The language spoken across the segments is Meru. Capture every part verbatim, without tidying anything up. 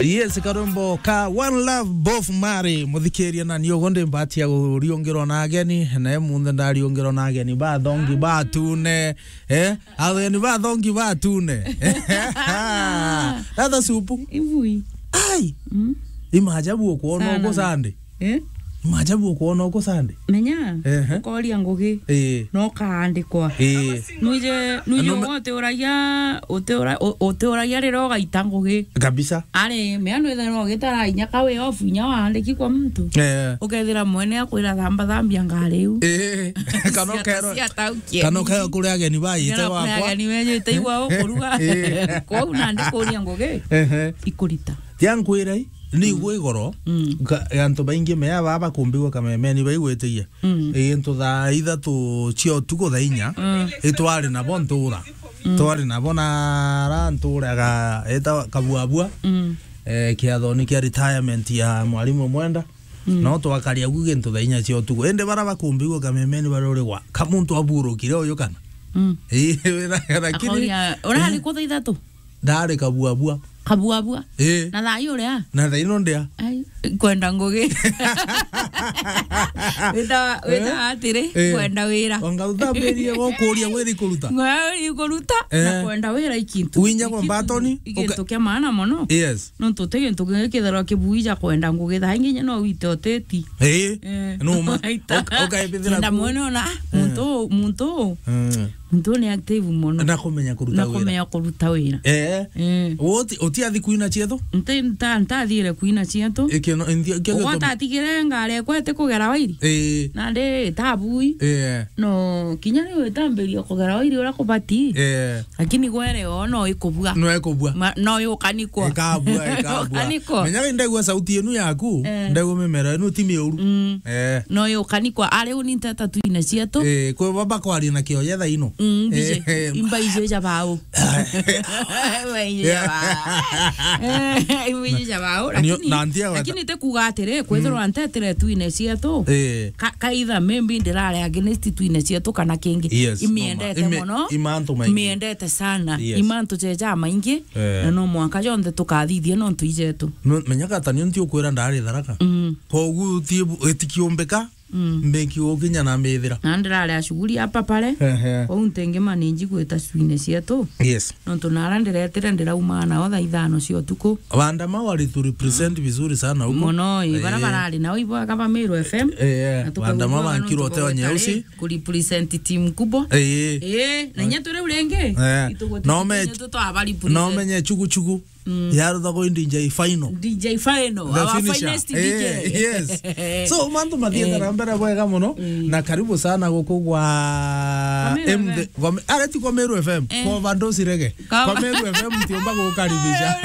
Yes, karwimbo ka One Love, Bob Marley. Muthikiria, na ni uguo ndi mbati ya kuriungirwa na ageni, na munthe ndariungirwa na ageni bathongi batune, eh? Ageni bathongi batune. Ratha supu. Ivui. Ai. Mm. Imaajabu ukwona Sana. Uko Sunday. Eh? Imaajabu ukwona uko Sunday. Menya, Ehe. Ukoria ngugi. Eh. No kaandikwa. Eh. Nwije, nwije No me- uga utiuragia, utiura-, u-, utiuragia riria ugaita ngugi. Kabisa. Ari, mea nwithirwa ugitara inya ka way off, inya waandiki kwa muntu. Eh. Ukethira mwene akwira, "Thamba, thambia ngari iu." Eh. Kana Cia-, ukerwa, cia taukia kana nini? Ukerwa kuri ageni baite Kana kuri gwakwa. Ageni bejite igwa ukuruga. Eh. Kwou nandi kuria ngugi. Ehe. Ikurita. Tia nkwira i, ni Mm. igwe igoro, Mm. ka-, antu baingi mea baba bakumbigwa kamemeni baigwitigia. Mm. Ii, ntu thaa ithatu cia utuku thaa inya, Mm. itwari nabo ntura. Mm. Twari nabo na ara ntura ga-, eta Kabuabua, Mm. eh, kiathoni kia retirement ya mwarimu Mwenda. Mm. No twakaria gu gintu thaa inya cia utuku. Indi bara bakumbigwa kamemeni bari uri gwa, ka muntu aburukire uyu kana? Mm. Ii, wina-, lakini Akoria, urari ku thaa ithatu? Ndari Kabuabua. Kabuabua? Ii. Na thaa ii uria? Na thaa ino ndia? Ai, kwenda ngugi. Wita, wita Eh? Atiri, Eh. Kwenda wira. Wanga utambirie gukuria wira ikuruta? Ngwa ikuruta, Eh. Na kwenda wira ikintu. Winya kwa Ikintu, mbatoni, ikintu uka- kia maana mono. Yes. Nontu ti gintu kingi kithirwa kibui ja kwenda ngugi, thaa ingi inya no wite uteti. Ii. Eh. Numa. Aita. Uka-, ukaibithira Kenda ku- mwene ona, ah, Eh. muntu, muntu. Eh. Muntu ni active mono. Na kumenya kuruta Na wira. Kumenya kuruta wira. Eh. Eh. Uti, utiathi kuina cietho? Nti, nta-, ntathire kuina cietho. Ikio no, nthi-, ikio Ugwata atigire ngari ekwa iti kugera wairi. Eh. Nandi itabui. Eh. No, kinya riu itambiria kugera wairi uria kubati. Eh. Lakini gwere o no ikubua. No ikubua. Ma-, no yukanikwa. Ikabua, ikabua. Yukanikwa. Menyaga ndaigua sauti enu yaku, Eh. Ndaigua mimero enu ti miuru. Mm. Eh. No yukanikwa. Ari uni nteta tuine cietu. Eh, kwi baba kwaria na kioya thaa ino. Mm, mbiji. Eh. Imba ije ja bau. Imba ije ja bau. Eh, imba ije ja bau. Na nio-, Lakini, na ntia gweta- lakini te kuga atiri, kwithirwa Mm. ntetire tuine cietu. Eh. Ka-, kaitha maybe ndirare against tuine cietu kana kingi. Yes, Imiendete no ma-, imi-, mono. Imantu maingi. Imiendete sana. Yes. Imantu jeja maingi. Eh. Na no mwanka jonthe tukathithia nontu ijetu. Me-, menyaga ta nio nti ukwira ndari Tharaka. Mm. Kogu ti bu-, itikiumbika, Mm. mbiki ukinya na mithira. Na ndirare ashuguri hapa pale. Ehe. Kwou ntingi manage gwita cwine cietu. Yes. Nontu nara ndiretire ndirauma nao thaa ithano cia utuku. Wandama wali tu represent vizuri sana huko. Mono, ii, bara Eh. barari nao ibo aka ba Meru F M. Eh, eh. Na tukaigua Wandama wega wankirwo nontu teo bagwetare nyeusi. Ku represent team kubwa. Eh, eh. Eh, na inya turi uringi. Eh. Ituguti No me-, inya tutwaba represent. No menye chugu chugu. Mm. Yarutha go D J final. D J final, The our finisher. Finest Eh, D J. Yes. So, mantu mathiete Eh. na mbere bwega muno, Mm. na karibu sana guku gwa Kwa Meru M D, F M. Kwa Me-, areti kwa Meru F M, Eh. Kwa Vandosi Rege. Kwa Kwa Meru F M ntiumba gukaribisha.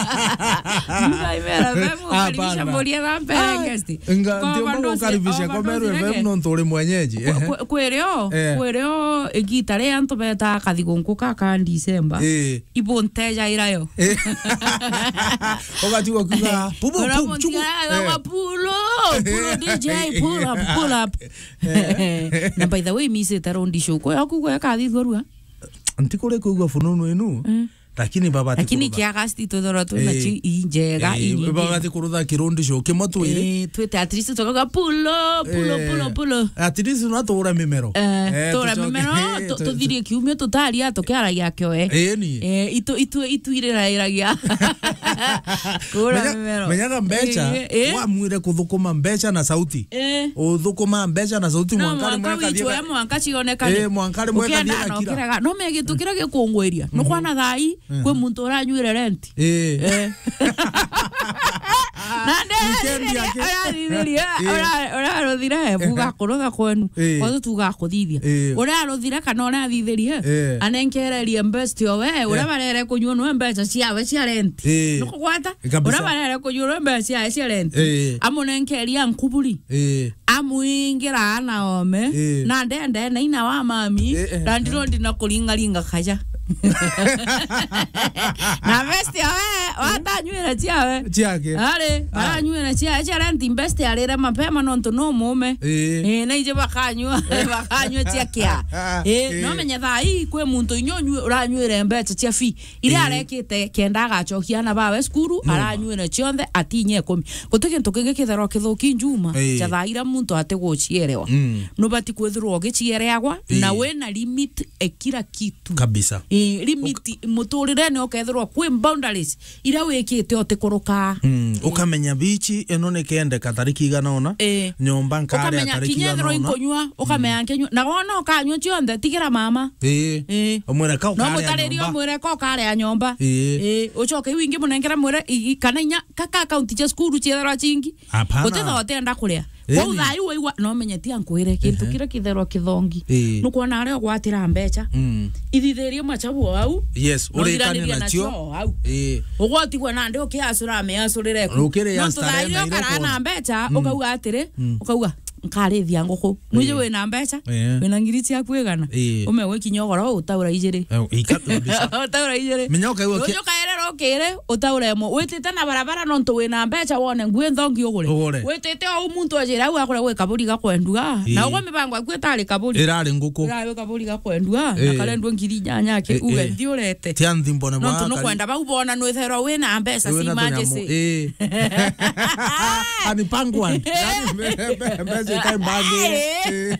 Ngai Meru F M gukaribisha Hapana. Muria Rampe Ah, guest. Nga, Kwa ntiumba Vandosi, gukaribisha kwa kwa Meru Vandosi F M Rege. Nontu uri mwenyeji. Kwe-, kwe-, kwerio, Eh. Kwerio igita ria antu beta kathigunku ka ka December. Eh. Ibuntejaira yo. Eh. Ugatigwa kuga, "Pupu, Ura pupu, chuku." Muntiara Eh. Wa pull up, pull up, D J, pull up, pull up. Eh. Na by the way, misite rondi show. Kwa yaku kwa kathithwa rua. Ntikuri kuigua fununu inu. Mm. Lakini baba Lakini tikurutha. Kia August tuthorwa twina Eh. Chi injega Eh, inyingi. Baba tikurutha kirundi show kimwe twiri. Eh, twite at least tukaga pull up, pull up, Eh. Pull up, pull up. At least no tuura mimero. Eh, Eh, tuura tucoke. Mimero, Eh, tu-, tu-, tuthirie kiumia tutaria tukiaragia kioe. Eh, ni. Eh, itu, itu, itu irirairagia. Kuura Menya-, mimero. Menyaga mbeca, Eh, eh. Wamwire kuthukuma mbeca na sauti. Eh. Uthukuma mbeca na sauti No, mwanka rimwe mwanka kathie witwe, ka-, mwanka cionekane. Eh, mwanka rimwe Ukienda kathie na gakira. Ukiraga. No menya gintu kiria gikungwiria. Mhm. Nukwana thai, Mhm. Kwi muntu uranyuire rent. Eh. Eh. Na nde Weekend yake. Urathithirie, Eh. Ura-, uraruthire, buga kurutha kwenu. Eh. Kwathu tuga kuthithia. Eh. Uraruthire kana urathithirie, Eh. Anenkererie best yo we, uria Eh. Barere kunyua nwe mbeca ciawe cia rent. Eh. Nukugwata? Kabisa. Uria barere kunyua nwe mbeca ciawe cia rent. Eh. Amunenkeria nkuburi. Eh. Amwingira ana ome, Eh. Na ndende na ina wa mami, Eh, eh. Na ndirondi na kuringaringa kaja. Na best ya we, watanywira ciawe. Ciake. Ari, ah, aranyuira cia, cia rent best arire mapema nontu no mume. Ii. Ii, na ije bakanyua, bakanyua cia kia. Ii, ii, no menye thaa ii kwi muntu inya unyui-, uranyuire mbeca cia fee. Iria, ii, arekite kenda agacokia ana bawe cukuru, no, aranyuire cionthe atinye ikumi. Guti gintu kingi kitherwa kithuki njuma, ii, cha thaa iria muntu atigucierewa. Mm. Nubati kwithirwa ugiciereagwa, ii, na wina limit e kila kitu. Kabisa. Ii, limit, uka- muturirene ukethirwa kwi boundaries iria wikite utikuruka. Mm, ii, ukamenya bichi ino nikendeka tariki igana ona, ii, nyomba nkaria tariki igana ona. Ukamenya kinya ethirwa inkunyua, ukamenya, mm, nkinyua. Na wona ukanyua cionthe, tigira mama. Ii. Ii. Umwire ka ukaria nyomba. No mutaririe umwire ka ukaria nyomba. Ii. Ii, ucoke iu ingi munengere mwire, i-, i-, kana inya ka, ka account cia cukuru ciethirwa cingi. Hapana. Gutitha utenda kuria. Ii. Kwou thaa iu waigua, no menye ti ankwire, kintu, ehe, kiria kitherwa kithongi. Ii. Nukwona aria ugwatira mbeca. Mm. Ithithirie machabu o au. Yes, no urikane iranire nacio. Nacio o au. Ii. Ugwatigwa nandi ukiacura ameacurire ku. Ukiri ya starehe na iria ukona. Nontu thaa iria ukara na mbeca, mm, ukauga atiri, mm, ukauga, "Nkarithia nguku." Mwiji, ii, wina mbeca, ii, wina ngiri ciaku igana. Ii. Ume gwikinya ugoro utaura ijiri. Eh, ika-, kabisa. Utaura ijiri. Menya ukaigua ki- Ruju kairira ukiri, utaura imwe. Witite na barabara nontu wina mbeca wone ngui nthongi ugure. Ugure. Witite o muntu ajira au akore gwi kaburi gakwendua. Ii. Na ugwe mibango yaku itari kaburi. Irari nguku. Irari kaburi gakwendua. Ii. Na karendua ngiri inyanya ki, ii, uge, ii, nthi urete. Tia nthi mbone. Nontu bwa nukwenda bau bona nwitherwa wina mbeca cia emergency. Ii. Ani pangwan. Yani mbe-, mbe-, mbeca itai mbangi. Ii. Ii.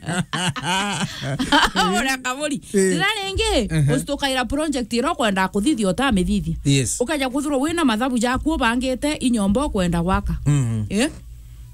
Ugure kaburi. Ii. Rira ringi, ehe, ucitukaira project iria ukwenda kuthithia utamithithia. Yes. Ukaja kwithirwa wina mathabu jaku ubangite inyomba ukwenda gwaka. Mhm. Ii?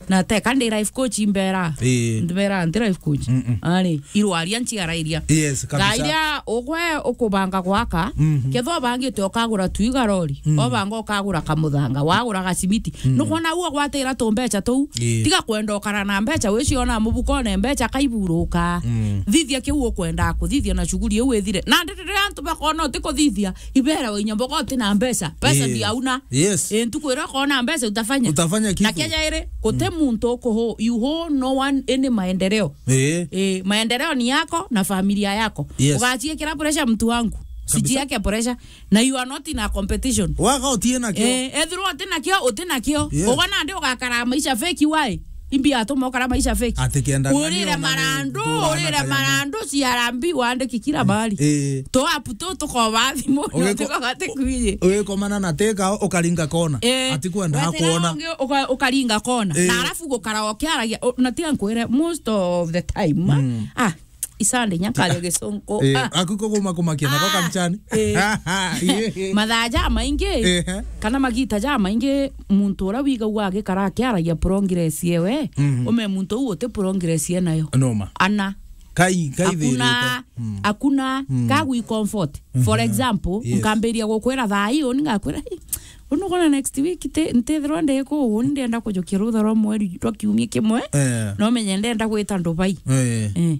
Na teka ndi life coach imbera. Ii. Mbera ndi life coach. Mm-mm. Ari, irwaria nciara iria. Yes, kabisa. Thaa iria ugwe ukubanga gwaka, mhm, kethwa ubangite ukagura twiga rori, mm, obanga ukagura kamuthanga, wagura gacimiti. Mm. Nukwona uu ugwatira tumbeca tuu, ii, tiga kwenda ukara na mbeca, wiciona mubukone mbeca kaiburuka. Mm. Thithia kiu ukwenda kuthithia na shughuli iu ithire. Na ndi riria antu bakona utikuthithia, ibera wa inya mboga uti na mbeca, pesa, ii, ndiauna. Yes. Ii, ntuku iria ukona mbeca utafanya. Utafanya kitu. Na keja iri, guti, mm, muntu ukuhu, you owe no one any maendeleo. Ii. Ii, maendeleo ni yako na familia yako. Yes. Ugaciikira pressure mtu wangu. Kabisa. Sijieke pressure. Na you are not in a competition. Waga utie nakio. Ii, ethirwa uti nakio, uti nakio. Yes. Ugwa nandi ugakara maisha fake why? Imbi atuma ukara maisha fake. Ati kenda ng'ania urire ona ni marandu, ndurana urire kanyama. Marandu, C R B wandiki kila mahali. Ii. To apu tu tukoba thimu, ugiko-, tukoba tikwiji. Ugikomana na teka ukaringa kona. Ii. Ati kwenda wetera kuona. Ungi uka-, ukaringa kona. Ii. Na alafu gukara ukiaragia, u-, na tiga nkwire, most of the time, mm, ah, isande inya nkaria gisungu. Ii, ah, aku ko kuma kumakia nako, ah, kamchani. Ii. Ii. Mathaa jamaingi, ehe, kana magita jamaingi, muntu uria wigagua agikara akiaragia progress yewe, mhm, ume muntu uu uti progress enayo. Noma. Ana. Kai, kai hakuna, thirite. Mm. Hakuna, mm, kagwi comfort. For, mhm, example, yes, nkambiria gukwira thaa ii, uni ngakwira, "Ii, uni kwona next week ti-, ntithirwa ndi kuu, uni ndenda kujukia rutha rwa mweri rwa kiumia kimwe." Eh. No menye ndenda gwita Dubai. Eh. Eh.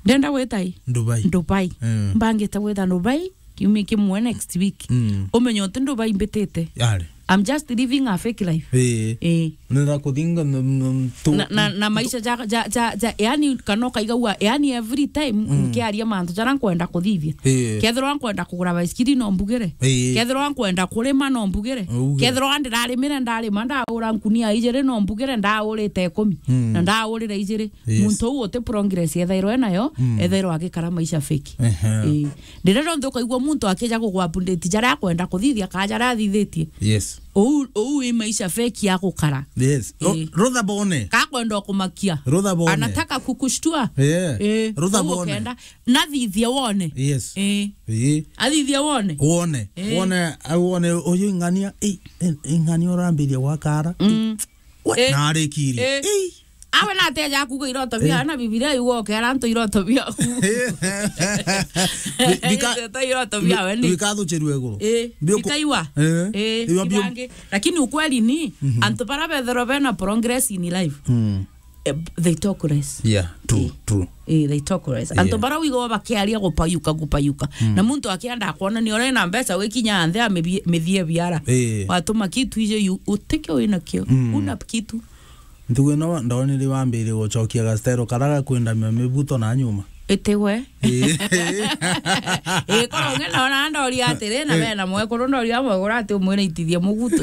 Ndenda gwita i? Dubai. Dubai. Eh. Mbangite gwita Dubai kiumia kimwe next week. Mm. Umenye uti Dubai mbitite. Yari. I'm just living a fake life. Eh. Eh. Nenda kuthinga n-, n-, tu-, na, na, na tu- maisha ja, ja, ja, ja, yani, kana ukaigagua, yani, every time, mm, nkiaria mantu jara nkwenda kuthithia. Ii. Kethirwa nkwenda kugura baisikiri, no mbugire. Ii. Kethirwa nkwenda kurima, no mbugire. Uge. Kethirwa ndirarimire, ndarima, ndaura nkunia ijiri, no mbugire, ndaurite ikumi. Mm. Na ndaurire ijiri. Yes. Muntu uu uti progress ethairwa enayo, mm, ethairwa agikara maisha fake. Ehe. Ii. Ndirenda nthu ukaigua muntu akija kugwa update jaria akwenda kuthithia, kana jaria athithitie. Yes. Ou, ou i maisha fake ya gukara. Yes. Ru-, ii, rutha bone. Ka kwenda kumakia. Rutha bone. Anataka kukushtua. Yeah. Ii. Rutha bone. Ukenda. Nathithia wone. Yes. Ii. Ii. Athithia wone. Wone. Ii. Wone, au wone uyu ing'ania, ii, ii, ing'ania urambiria gwakara. Mm. We, eh, na arikirie. Eh. Ei. Awe na ateja kuga iroto bia, eh, na Bibilia yuga ukera antu iroto biaku. Eh. Bi-, bika-, iroto iroto bia bi-, we ni. Bikathuchirue iguru. Eh, biuku-, bikaiwa. Eh. Eh, iwa biu- bibange. Lakini ukweli ni, mhm, antu bara bethero bena progress in life. Mm. Eh, they talk less. Yeah, true, eh, true. Eh, they talk less. Yeah. Antu bara wigo bakiaria gupayuka, gupayuka. Mm. Na muntu akienda kuona ni ore na mbeca wikinya anthe amithie biara. Eh. Watuma kitu ije yu, utike wina kio. Mm. Una kitu. Ntugu ino ndonire wambire gucokia gastero kara gakwendamia mibuto na nyuma. Itiwe. Ii. Ii, korwo ng'e nona ndoria atiri, na bena mwekuru, ndoria mwekuru ati umwire itithie mugutu.